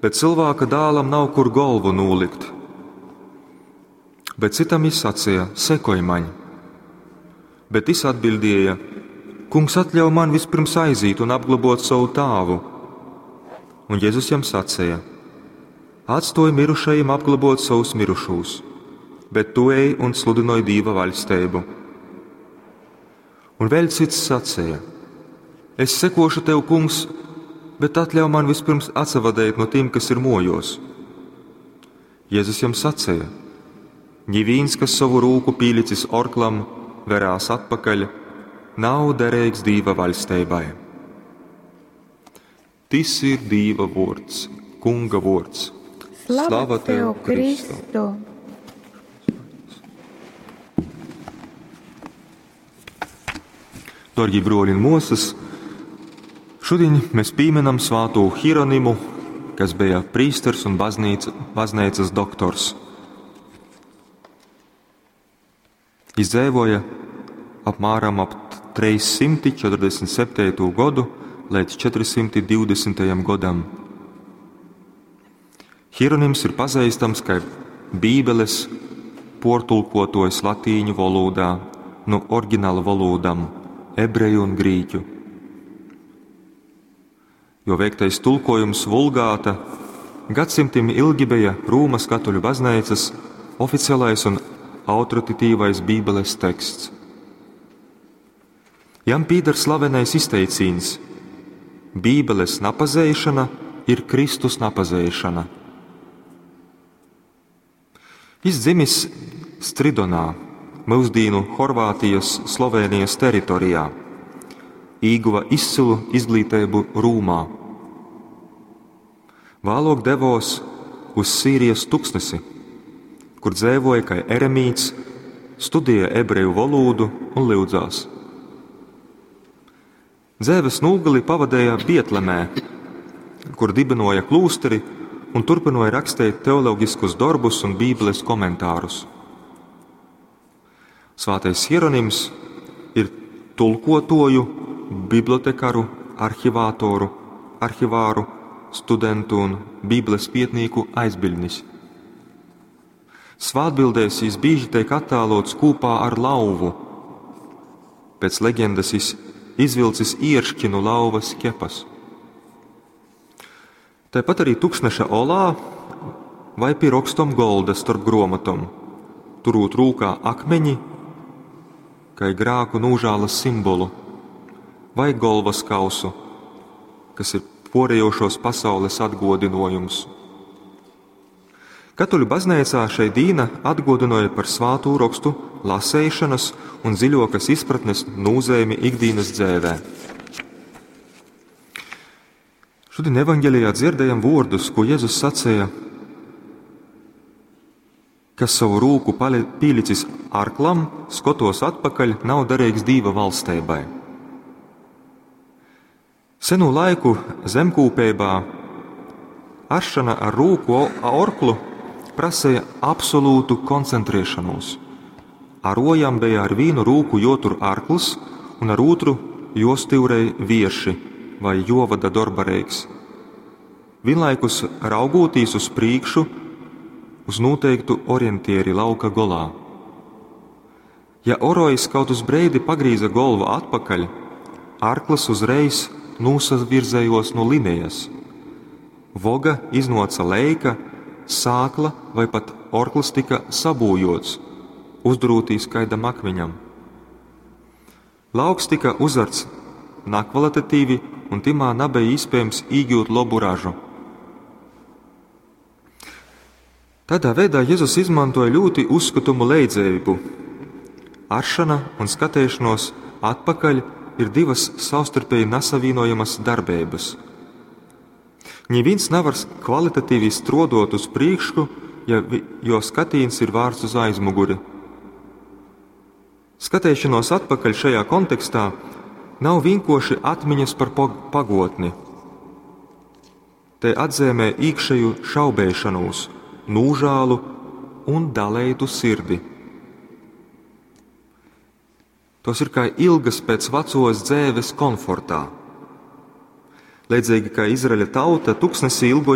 bet Cylvāka Dālam nav kur golvu nūlikt. Bet cytam jis saceja: Sekoj maņ! Bet tys atbiļdēja: Kungs, atļauj man vispirms aizīt un apglobōt sovu tāvu. Un Jezus jam saceja: Atstōj mirušajim apglobōt sovus mirušūs, bet tu ej un sludynoj Dīva vaļsteibu. Un vēļ cits saceja: Es sekošu tev, Kungs, bet atļauj man vispirms atsavadeit nu tim, kas ir mōjōs. Jezus jam saceja: Nivīns, kas sovu rūku pīlicis orklam, verās atpakaļ, nav dereigs Dīva vaļsteibai. Tys ir Dīva vōrds, Kunga vōrds. Slava tev, Kristu! Dārgie broļi un māsas, šodien mēs pieminam svāto Hieronimu, kas bija prīsters un baznīcas doktors. Viņš dzīvoja apmēram ap 347. Godu līdz 420. Gadam. Hieronyms ir pazīstams kā Bībeles portulkotojs latīņu valodā no oriģināla valodām ebreju un grīķu. Jo veiktais tulkojums Vulgāta gadsimtiem ilgi bija Rūmas katoļu baznīcas oficiālais un autoritatīvais Bībeles teksts. Jam pīdar slavenais izteicīns: Bībeles napazeišana ir Kristus napazeišana. Jis dzimis Stridonā, mūsdīnu Horvātijas, Slovenijas teritorijā. Īguva izcilu izglītību Rūmā. Vēlāk devos uz Sīrijas tuksnesi, kur dzīvoja kā eremīts, studēja ebreju valodu un lyudzās. Dzēves nūgali pavadīja Bietlemē, kur dibinoja klūsteri un turpināja rakstīt teoloģiskus darbus un Bībeles komentārus. Svātais Hieronyms ir tulkotoju, bibliotekaru, arhivāru, studentu un Bībeles pietnīku aizbiļnis. Svātbildēs jis bieži tiek attēlots kopā ar lauvu. Pēc leģendas jis izvilcis ierški no lauvas ķepas. Tāpat arī tukšneša olā vai pie rokstom golda starp gromatom, turūt rūkā akmeņi, kā grāku nūžālas simbolu, vai golvas kausu, kas ir porējošos pasaules atgodinojums. Katoļu baznīcā šai dīna atgodinoja par svātū rakstu lasēšanas un dziļokas izpratnes nūzēmi ikdienas dzēvē. Šodien evaņģēlijā dzirdējam vārdus, ko Jēzus sacīja, kas savu rūku pīlicis arklam, skotos atpakaļ, nav derīgs Dīva valsteibai. Senu laiku zemkūpībā aršana ar rūku orklu prasīja absolūtu koncentrēšanos. Arojam bija ar vienu rūku jotur arkls un ar otru jostīvrej vierši vai jovada dorbareiks. Vienlaikus raugūtīs uz priekšu, uz noteiktu orientieri lauka golā. Ja orojs kaut uz breidi pagrīza golvu atpakaļ, arkls uzreiz nūsavirzējos no linijas. Voga iznoca leika, sākla vai pat orkls tika sabūjots, uzdrūtīs kaidam akmeņam. Lauks tika uzarts nakvalitatīvi un timā nebija iespējams iegūt labu ražu. Tādā veidā Jēzus izmantoja ļoti uzskatumu leidzējumu. Aršana un skatēšanos atpakaļ ir divas savstarpēji nesavīnojamas darbības. Neviens nevar kvalitatīvi strodot uz priekšu, ja, jo skatīns ir vārds uz aizmuguri. Skatēšanos atpakaļ šajā kontekstā nav vienkoši atmiņas par pagotni. Te atzīmē iekšēju šaubēšanos, nūžālu un dalētu sirdi. Tos ir kā ilgas pēc vecos dzēves komfortā. Līdzīgi kā Izraeļa tauta tuksnesī ilgojās